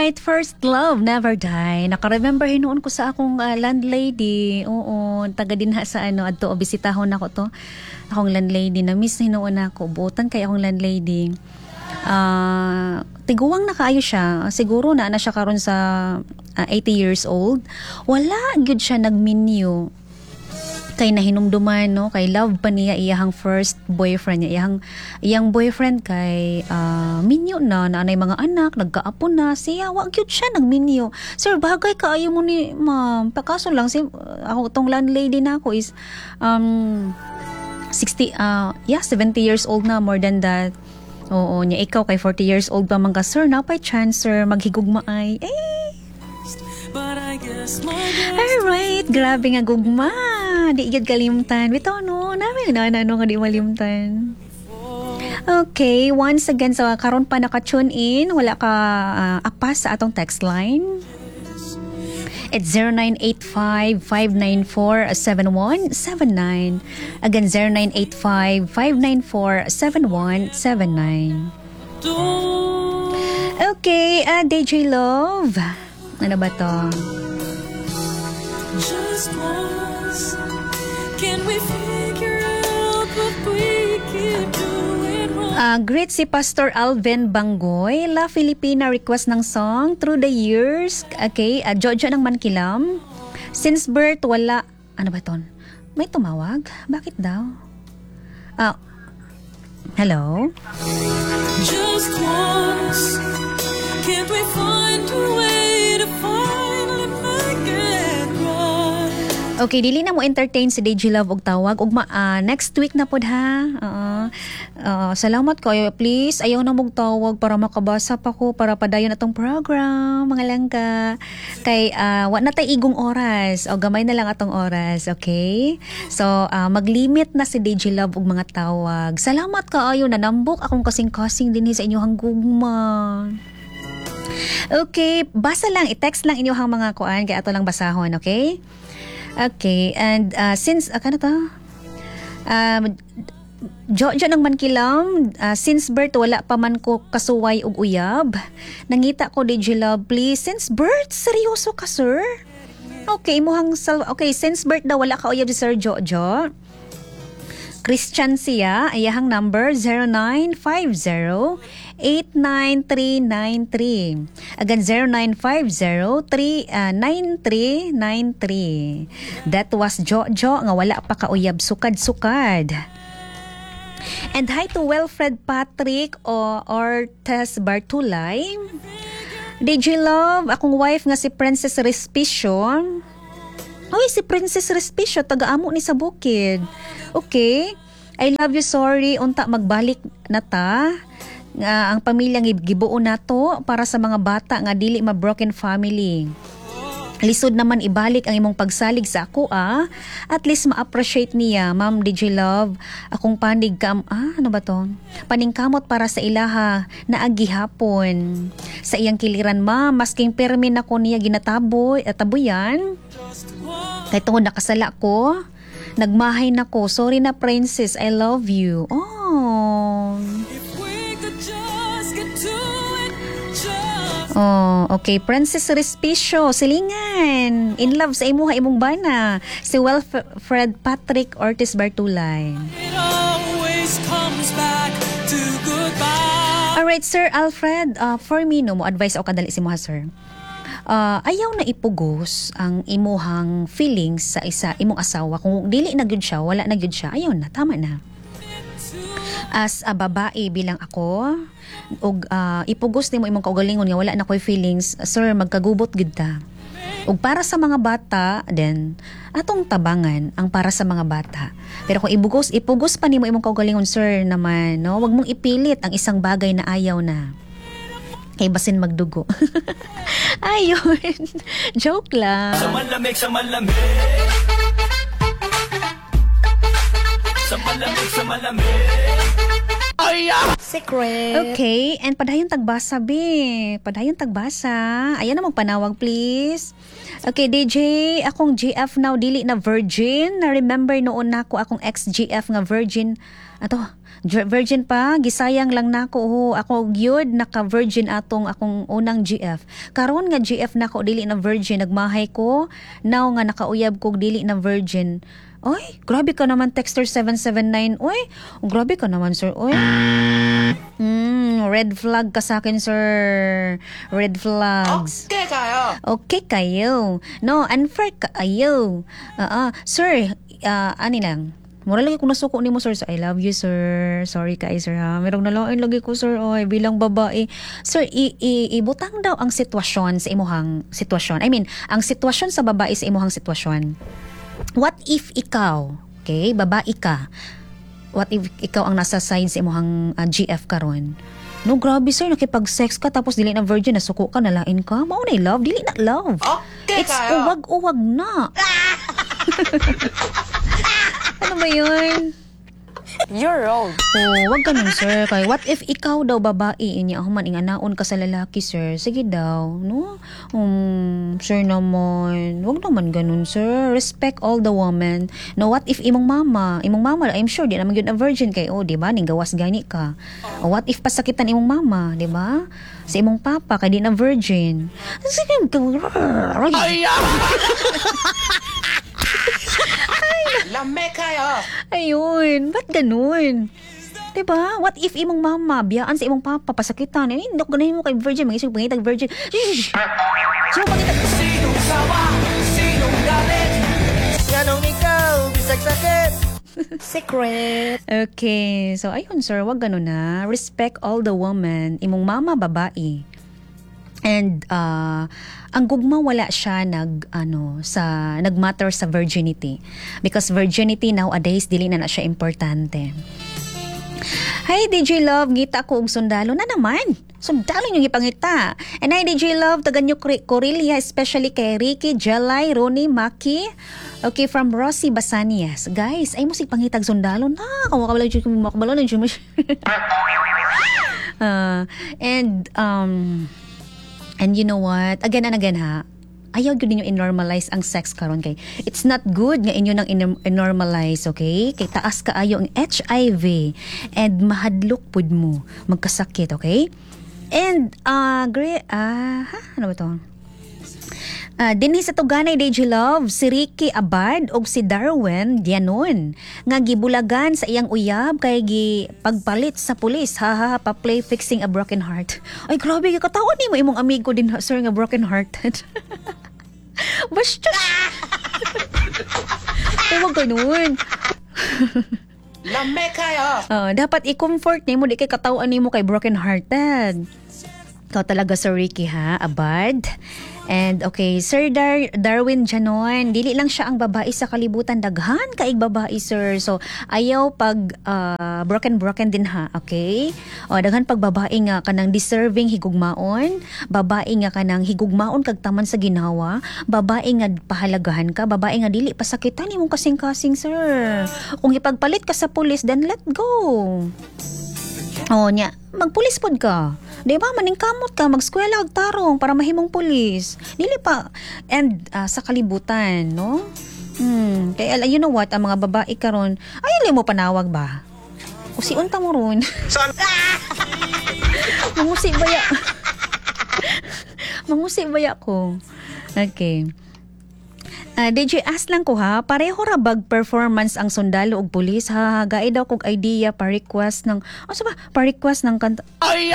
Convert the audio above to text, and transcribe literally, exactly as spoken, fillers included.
Alright, first love never die. Naka-remember hinuon ko sa akong ah, landlady. Oo, taga dinha sa ano adto bisitahon nako to. Akong landlady na miss hinuon ako. Buotan kay akong landlady. Ah, tiguang na kaayo siya. Siguro na na siya karon sa ah, eighty years old. Wala gyud siya nagminyo kay nahinumduman, no, kay love pa niya iyahang first boyfriend niya, iyahang iyang boyfriend kay ah, minyo na, naanay mga anak, nagkaapo na siya. Wa gyud siya nagminyo. Sir, bagay kaayo mo ni ma'am. Pakaso lang si ako tong landlady na ako is um sixty, uh, yeah, seventy years old na, more than that. Oo niya, ikaw kay forty years old pa man ka, sir, napay chance, sir, maghigugma ay eh. But I guess my best Alright, grabe nga gugma. Di gyud kalimtan. Bitaw no, namin na ano nga di malimtan. Okay, once again, so karon pa naka-tune in, wala ka uh, apas sa atong text line. It's zero nine eight five, five nine four, seven one seven nine. Again, zero nine eight five, five nine four, seven one seven nine. Don't Okay, uh, D J Love. Ano ba to? Just once. Can we figure out what we keep doing wrong? Uh, greet si Pastor Alvin Bangoy. La Filipina, request ng song Through the Years. Okay, uh, Jojo ng Mankilam. Since birth, wala. Ano ba ton? May tumawag? Bakit daw? Ah, hello? Just once. Can't we find a way to finally make it right? Okay, dili na mo entertain si D J Love og tawag. Ugma, ah, next week na pod ha. Oo. Ah, salamat kayo. Please, ayaw na mong tawag para makabasa pa ko para padayon atong program, mga langga. Kay ah, wa na tay igong oras o gamay na lang atong oras, okay? So, ah, maglimit na si D J Love og mga tawag. Salamat kaayo, nanambok akong kasing-kasing dinhi sa inyong gugma. Okay, basa lang, i-text lang inyong mga kuan kay ato lang basahon, okay? Okay, and uh, since, uh, kano to? Um, Jojo ng Mankilam, uh, since birth wala pa man ko kasuway og uyab. Nangita ko, D J Love, please. Since birth? Seryoso ka, sir? Okay, imuhang sal- okay, since birth daw wala ka uyab si Sir Jojo. Christian siya, iyahang number zero nine five zero, eight nine three nine three. Again, zero nine five zero, three nine three nine three. That was Jojo nga wala pa kauyab sukad-sukad. And hi to Wilfred Patrick o Ortes Bartulay. D J Love, akong wife nga si Princess Respicio. Uy, si Princess Respicio, taga-amo ni sa bukid. Okay. I love you, sorry. Unta magbalik na ta. Nga ang pamilya nga gibuo nato para sa mga bata nga dili ma broken family. Lisod naman ibalik ang imong pagsalig sa ako ah. At least ma-appreciate niya, Ma'am D J Love. Akong panig kam ah, ano ba to? Paningkamot para sa ilaha na agihapon. Sa iyang kiliran, ma'am, masking permi na ko niya ginataboy, at tabuyan. Kay tungod nakasala ko, nagmahay na ko. Sorry na, Princess, I love you. Oh. If we could just get to it, just Oh, okay. Princess Respicio, silingan. In love sa imuha imong bana. Si Wilfred Patrick Ortiz Bartulay. It always comes back to goodbye. Alright, Sir Alfred, uh, for me, no, mo advice ako kadali si imuha, sir. Uh, ayaw na ipugos ang imuhang feelings sa isa imong asawa. Kung dili na gyud siya, wala na gyud siya, ayaw na, tama na. As a babae bilang ako, ug uh, ipugos nimo imong kaugalingon nga wala na koy feelings, sir, magkagubot gid ta. Ug para sa mga bata, then atong tabangan ang para sa mga bata. Pero kung ibugos, ipugos pa nimo imong kaugalingon, sir, naman, no, wag mong ipilit ang isang bagay na ayaw na. Kay basin magdugo. Ayun. Joke lang. Sa malamig, sa malamig. Sa malamig, sa malamig. Secret. Okay, and padayon tagbasa, be. Padayon tagbasa. Ayan na, magpanawag, please. Okay, D J, akong G F now dili na virgin. Na remember noon nako akong ex-G F nga virgin. Ato, virgin pa, gisayang lang nako ho. Ako gyud naka virgin atong akong unang G F. Karon nga G F nako dili na virgin, nagmahay ko. Now nga nakauyab ko, dili na virgin. Oy, grabe ka naman, texter seven seven nine. Oy, grabe ka naman, sir. Oy. Mm, red flag ka sa akin, sir. Red flags. Okay kayo. Okay kayo. No, unfair kaayo. Ah, uh, sir, uh, ani lang. Mura lagi kung nasuko nimo, sir. So, I love you, sir. Sorry kay sir ha. Merong nalain lagi ko, sir. Oy, bilang babae. Sir, i, i, ibutang daw ang sitwasyon sa imuhang sitwasyon. I mean, ang sitwasyon sa babae sa imuhang sitwasyon. What if ikaw, okay, babae ka, what if ikaw ang nasa side sa imuhang uh, G F karon? No, grabe, sir, nakipag-sex ka tapos dili na virgin, nasuko ka, nalain ka. Mao na love, dili na love. Okay It's kayo. uwag-uwag na. Ano ba yun? You're wrong. Oh, wag ganun, sir. Kay what if ikaw daw babae, inya human inganaon ka sa lalaki, sir. Sige daw, no? Um, sir naman, wag naman ganun, sir. Respect all the women. No, what if imong mama, imong mama, I'm sure di naman gyud a virgin kay, oh, di ba? Ning gawas gani ka. Oh, what if pasakitan imong mama, di ba? Sa imong papa kay di na virgin. Sige, Ay! Lame kayo. Ayun, ba't ganun? Diba? What if imong mama, biyaan sa imong papa, pasakitan? Eh, hindi ko ganahin mo kay virgin, mag-isip pangitag virgin. Sino pangitag? Sinong sawa? Sinong galit? Nganong ikaw, bisag sakit? Secret. Okay, so ayun, sir, wag ganun na. Respect all the women. Imong mama, babae. And uh, ang gugma, wala siya nag ano sa nagmatter sa virginity because virginity nowadays, dili na na siya importante. Hi, D J Love, ngita ko og sundalo na naman. Sundalo yung ipangita. And hi, D J Love, taga New Corelia, especially kay Ricky, Jelay, Ronnie, Maki. Okay, from Rosie Basanias. Guys, ay mo sig pangitag sundalo na. Kawakabalo jud makabalo na jud mo. Uh, and um and you know what? Again and again ha, ayaw gyud ninyo i-normalize ang sex karon kay it's not good nga inyo nang in-normalize, okay? Kay taas kaayo ang H I V and mahadlok pud mo magkasakit, okay? And uh great, ah, ha, ano ba to? Uh, dinhi sa Tuganay, D J Love, si Ricky Abad og si Darwin Dianon nga gibulagan sa iyang uyab kay gi pagpalit sa pulis. Ha ha, pa play "Fixing a Broken Heart." Ay, grabe katawa nimo imong amigo din, sir, nga broken hearted. Basta. Ay, wag ganun. Lame kayo. Uh, dapat i-comfort nimo, di kay katawan nimo kay broken hearted. Ikaw talaga, Sir Ricky ha, Abad. And okay, Sir Dar Darwin Janon, dili lang siya ang babae sa kalibutan, daghan kaig babae, sir. So ayaw pag uh, broken broken din ha, okay? O daghan pag babae nga kanang deserving higugmaon, babae nga kanang higugmaon kag taman sa ginhawa, babae nga pahalagahan ka, babae nga dili pasakitan imong kasing-kasing, sir. Kung ipagpalit ka sa pulis, then let go. Oh, nya, magpulis pod ka. Di ba? Maningkamot ka, magskwela og tarong para mahimong pulis. Dili pa and ah, sa kalibutan, no? Hmm, kaya you know what, ang mga babae karon, ay mo panawag ba? Usi unta mo ron. Saan? Mangusi baya. Mangusi baya ko. Okay. Uh, D J, ask lang ko ha, pareho ra bag performance ang sundalo ug pulis ha? Gae daw kog idea pa request ng, ano ba, pa request ng kanta. Ay!